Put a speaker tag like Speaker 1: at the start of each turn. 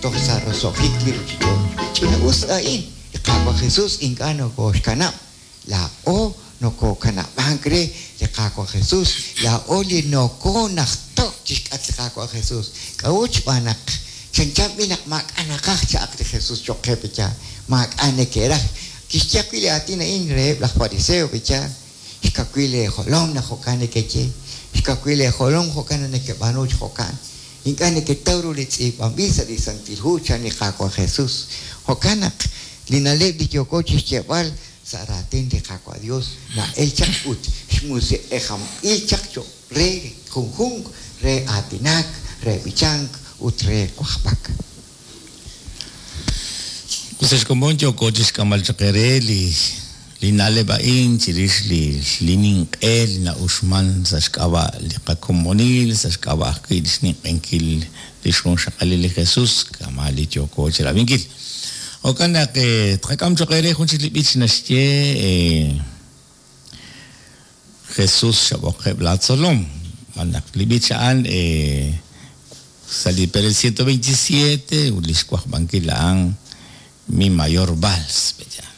Speaker 1: toj sa' roso'jik li ruuchich'och'. Ch'ina'us a'in, li Qaawa' Jesus ink'a' nokooxkanab', laa'o nokookanab'ank re li Qaawa' Jesus, laa'o li nokoonajto'k chi xk'atq li Qaawa' Jesus. K'a'ut? Xb'aan naq chanchan b'i' naq maak'a' naqaj cha'aq li Jesus cho'q qe pe'yaal, maak'a' neke'raj. Kixye ajwi' li aatin a'in reheb' laj fariseo pe'yaal, Xkawil eejolom naq jo'kan nekeye, xkawil eejolom jo'kan naq nekeb'aanu chi jo'kan. Ink'a' neketaw ru li tz'iib'anb'il sa' li Santil Hu, chan li Qaawa' Jesus. Jo'kan naq li na'leb' li yooko chixyeeb'al sa' raatin li Qaawa' Dios na'el chaq ut xmusiq'ejanb'il chaq choq' re junjunq re aatinak, re b'ichank, ut re wajb'ak.
Speaker 2: Ut sa' xkomon yooko chixk'amb'al chaq eere li li na'leb' a'in chirix li li ninq'e li na'uxman sa' xk'ab'a' li qakomonil, sa' xk'ab'a' ajwi' li xninq'ehinkil li xjunxaqalil li Jesus, kama' li yooko chirab'inkil. Jo'kan naq tqak'am choq' eere jun chik li b'ich naxye Jesus xab'oqeb' laa tzolom. Xb'aan naq li b'ich a'an sa' li perel 127 ut lix wajb'ankil a'an Mi mayor vals, pe'yaal.